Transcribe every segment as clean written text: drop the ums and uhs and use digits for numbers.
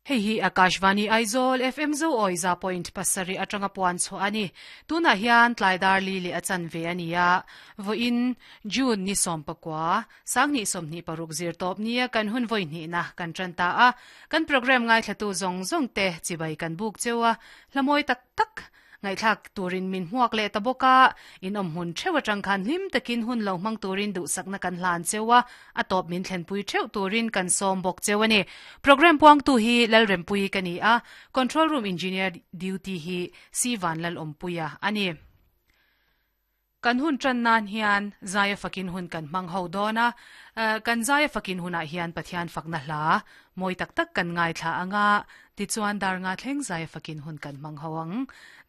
Hei hi Akashvani Aizawl FM Zo awi 100.7 atanga puan chhuah a ni. Tunah hian tlai dar li leh a chanve a ni a. Vawiin June ni 19, 2026 zir tawp nia kan hun vawi hnihna kan tan ta a. Kan programme ngaithlatu zawng zawng te chibai kan buk cheu a, hla mawi tak tak Ngaihthlak turin min hmuak leh ta bawk a, in awm hmun theuh atang khan hlim takin hun lo hmang turin duhsakna kan hlan cheu a, a tawp min thlenpui theuh turin kan sawm bawk cheu a ni. Programme puangtu hi Lalrempuii ka ni a, Control Room Engineer Duty hi Si Vanlalawmpuia a ni. Kan hun tan nan hian Zaia fakin hun kan hmang ho dawn a, kan Zaia fakin hunah hian Pathian fakna hla mawi tak tak kan ngaithla ang a, tichuan dar nga thleng Zaia fakin hun kan hmang ho ang.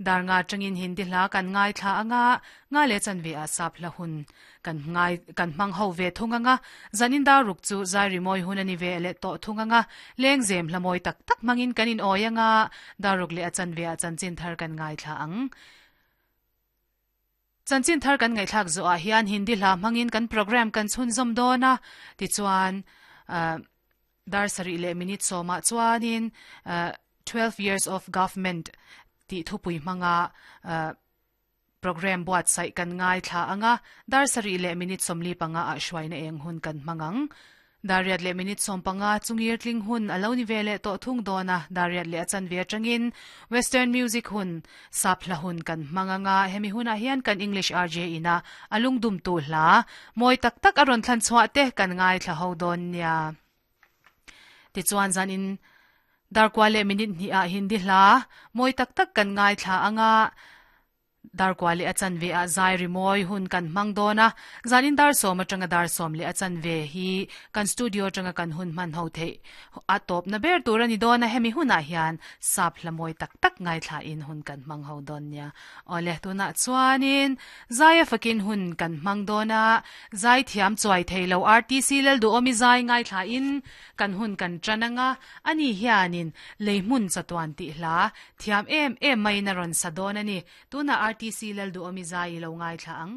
Dar nga atangin Hindi hla kan ngaithla ang a, nga leh chanve ah sap hla hun kan ngai kan hmang ho ve thung ang a, zanin dar ruk chu Zai rimawi hun a ni ve leh tawh thung ang a, lengzem hla mawi tak tak hmangin kan inawi ang a, dar ruk leh a chanve ah chanchin thar kan ngaithla ang. Chanchin thar kan ngaihthlak zawhah hian Hindi hla hmangin kan programme kan chhunzawm dawn a, tichuan dar sarih leh minute sawmah chuanin 12 years of government tih thupui hmanga programme buatsaih kan ngaithla ang a, dar sarih leh minute 45 ah hruaina eng hun kan hmang ang. Dariat leh minute 15 chungir tling hun a lo ni ve leh tawh thung dawn a, dariat leh a chanve atangin Western music hun, sap hla hun kan hmang anga hemi hunah hian kan English RJ ina a lungdumtu hla mawi tak tak a rawn thlan chhuah te kan ngaithla ho dawn nia. Tichuan zanin darkua leh minute hnihah Hindi hla mawi tak tak kan ngaithla anga, Darkua leh a chanve ah zai rimawi hun kan hmang dawn a, zanin dar sawm atanga dar sawm leh a chanve hi kan studio atanga kan hun hman ho theih a tawpna ber tur a ni dawn a, hemi hunah hian sap hla mawi tak tak ngaithla in hun kan hmang ho dawn nia. Awle, tunah chuanin zai a fakin hun kan hmang dawn a, zai thiam chuai thei lo RTC Lalduhawmi zai ngaithla in kan hun kan tan anga, ani hianin lei hmun chatuan tih hla Thiam em em maiin a rawn sa dawn a ni. Tunah RTC Lalduhawmi zai i lo ngaithla ang.